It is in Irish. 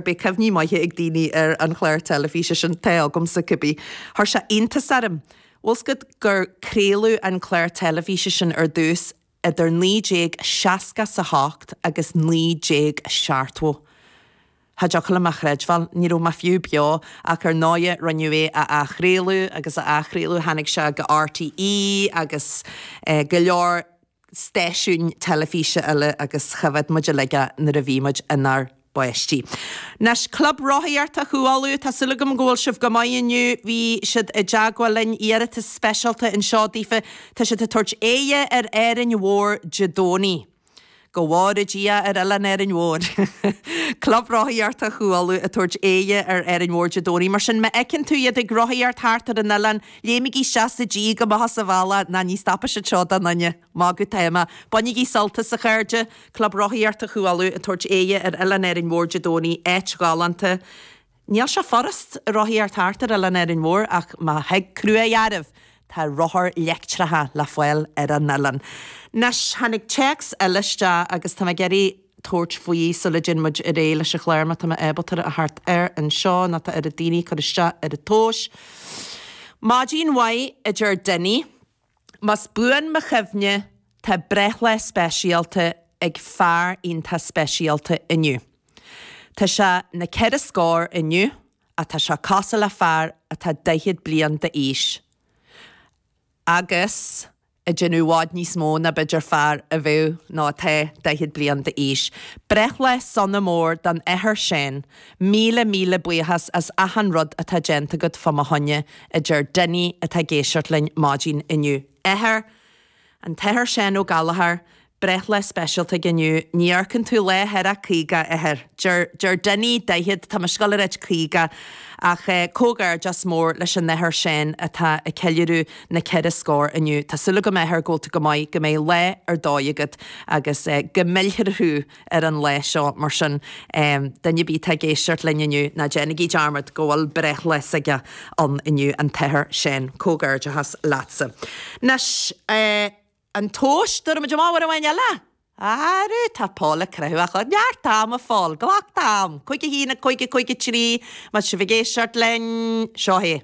Beidh cuimhní maithe ag daoine ar an chlár teilifíse sin, tá agamsa cibé. Chuir sé iontas orm. Bhfuil 's agat gur craoladh an clár teilifíse sin ar dtús idir 1968 agus 1970. Cha dtiocfadh liom a chreidbheáil, ní raibh mé fiú beo, ach ar ndóighe rinneadh é a athchraoladh agus a athchraoladh, tháinig sé go RTÉ agus go leor stáisiúin teilifíse eile agus choimhéad muid uilig é nuair a bhí muid inár bpáistí. Anois, Club Rothaíochta Chú Uladh, tá súil agam go bhfuil sibh go maith inniu, bhí siad i dteagmháil linn, iarratas speisialta anseo daofa, tá siad ag tabhairt aghaidh ar Árainn Mhór Dé Domhnaigh. Go bhfóire Dia ar Oileán Árainn Mhór. Club Rothaíochta Chú Uladh ag tabhairt aghaidh ar Árainn Mhór Dé Domhnaigh. Mar sin, má fheiceann tú iad ag rothaíocht thart ar an oileán, léimigí isteach sa díog amach as an bhealach, ná ní stopfaidh siad seo do dhuine. Magadh atá mé. Bainigí sult as, a chairde. Club Rothaíochta Chú Uladh ag tabhairt aghaidh ar Oileán Árainn Mhór Dé Domhnaigh, áit ghalánta. Níl sé furast rothaíocht thart ar Oileán Árainn Mhór ach má thig cruaidh oraibh, tá rothair leictreacha le fáil ar an oileán. Anois, tháinig téacs eile isteach agus tá mé ag iarraidh tabhairt faoi sula dtéann muid ar aghaidh leis an chlár má tá mé ábalta a theacht air anseo nó tá oiread daoine ag cur isteach ar an tomhais. Maidin mhaith, a deir Dinny. Más buan mo chuimhne, tá breithlá speisialta ag fear iontach speisialta inniu. Tá sé na ceithre scór inniu ach tá sé cosúil le fear atá 40 bliain d'aois agus ag déanamh i bhfad níos mó ná b'fhéidir fear a bheadh nó atá 40 bliain d'aois. Breithlá sona mór don Athair Seán. Míle míle buíochas as achan rud atá déanta agat fá mo choinne, a deir Dinny atá ag éisteacht linn maidin inniu. Athair, An tAthair Seán Ó Gallchóir, breithlá speisialta aige inniu. Ní amharcann tú lá thar a 50, a Athair. Deir, deir Dinny 40, tá mise ag gabháil a ráit 50, ach comhghairdeas mór leis an Athair Seán atá ag ceiliúradh na ceithre scór inniu. Tá súil agam, a Athair, go bhfuil tú go maith, go mbeidh lá ar dóigh agat agus go millfear thú ar an lá seo. Mar sin, duine ar bith atá ag éisteacht linn inniu, ná déanaigí dearmad go bhfuil breithlá s'aige ann inniu, an tAthair Seán. Comhghairdeachas leatsa. Anois, an tomhas, tabharfaidh muid amach uair amháin eile! Arú, tá Paul ag croitheadh a Neart ama, a Phóil, glac d'am! 5 1 5 5 3, má tá sibh ag éisteacht linn, seo é.